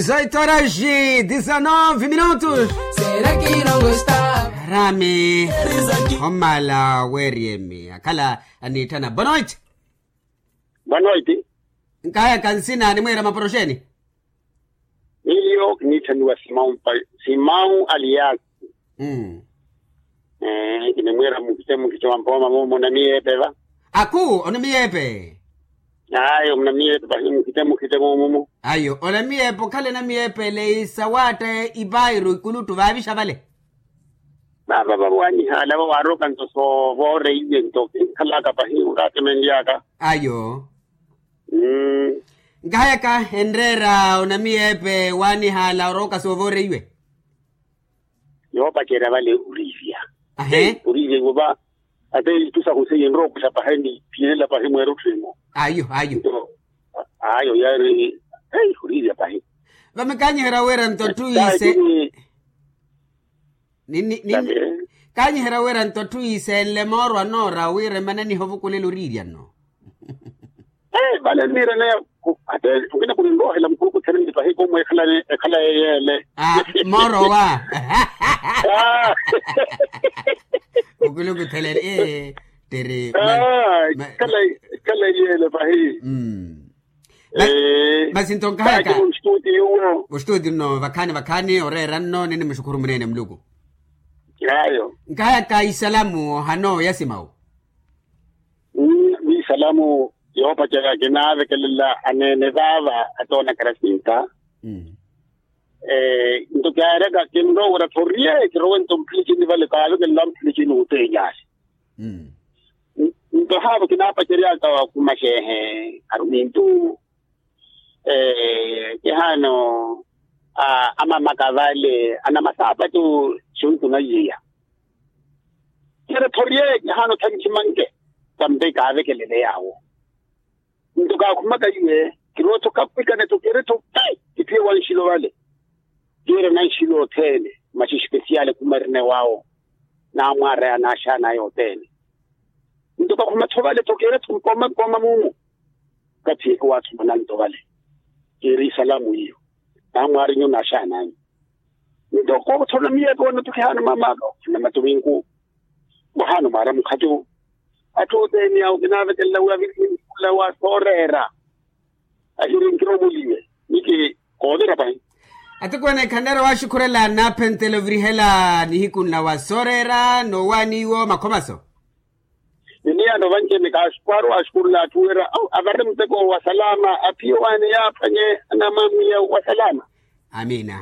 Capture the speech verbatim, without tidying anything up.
Zoito horas e dezanove minutos. Será que não gosta? Rami. Omala weriyemi akhala aniitthana bonoit. Bonoit. Nkaya kansina animwira maporoxeni. Miyo kiniitthaniwa simau mpa simau aliyaku. Mm. Kinimwira mukhite mukhite wa mpooma mumu onamiyeepe va. Aku onamiyeepe? Ayo onamiyeepe pahi mukhite mukhite mumu. Ayo onamiyeepe okhale namiyeepe ele isawaatta ipairu ikuluttu vaavixa vale. Vava vawanihala vawaroka nto soovoreiye nto kinkhalaka pahi oratemenlyaka. Ayo. Nkahayaka enreera onamiyeepe wanihala orooka soovoreiwe. Yoopacerya vale oriivya. Ahe. Oriivya iwo va ate ithu sahu seiye nrookwiha pahi ni phiyelela pahi mweerutthu imo. Ayo ayo. Ayo yaari. Oriivya pahi. Vamikaanyiherya wira nto atthu iise. Nini nini. Kaanyiherya wira nto atthu iise enle mooro anoora wira emananiha ovukulela oriirya nno. Vale nniira neya. Ate okina kuninroohela mukuluku theneni pahi komu ekhala ekhala eyeele. Mooro wa. Mukuluku theneni ee. Tiri. Ekhala eyeele pahi. Masi nto nkahayaka. Ostuti nno vakhaani vakhaani oreera nno ninimuxukhuru muneene muluku. Ayo. Nkahayaka isalamu ohano ya simawu. Isalamu yoopacerya kinaavekelela aneene vaava atoona karasinta. Nto kyaaraka kinrowa wira thoriye kirowe nto mphilichini vale kaavekelela mphilichini otenyali. Nto haavo kinaapaceryaka wa khumaxeehe arumintu. Kihaano amamaka vale anamasaapatu. Xuntu na iyeya kiri thoriye kihaano thanchimanke. Tampe kaavekelele yaawo. Nto kaakhumaka iwe kirowa-tho kapwikane-tho kiri-tho pi. Kiphiye wa nxilo vale. Kiire na nxilo othene maxi espesiyali khuma erina ewaawo. Naamwaaraya naaxaanaya othene. Nto kakhuma-tho vale-tho kiire-tho mpooma mpooma mumu. Kathi ewaathumana nto vale kiiri isalamu iyo. Naamwaarinyu naaxaananyu. Nto koothorona miyeepe wanna-tho kihaano mamaka okhana matuminku. Wahaano mwaara mukhacu. Atthu othene awo kinaavekelela wi aviriheni khula wa sooreera. Ahiri nkiromuliwe niki koovira pahi. Atukwene khanneera waaxukhurela naaphentela ovirihela nihiku nla wa sooreera noowaani iwo makhomaso. Niniyaano vanci-ene kaaxukhwaari waaxukhurela atthu wira avarele muteko wa salama aphiye waani yaaphwanye anamwamwiya wa salama. Amiina.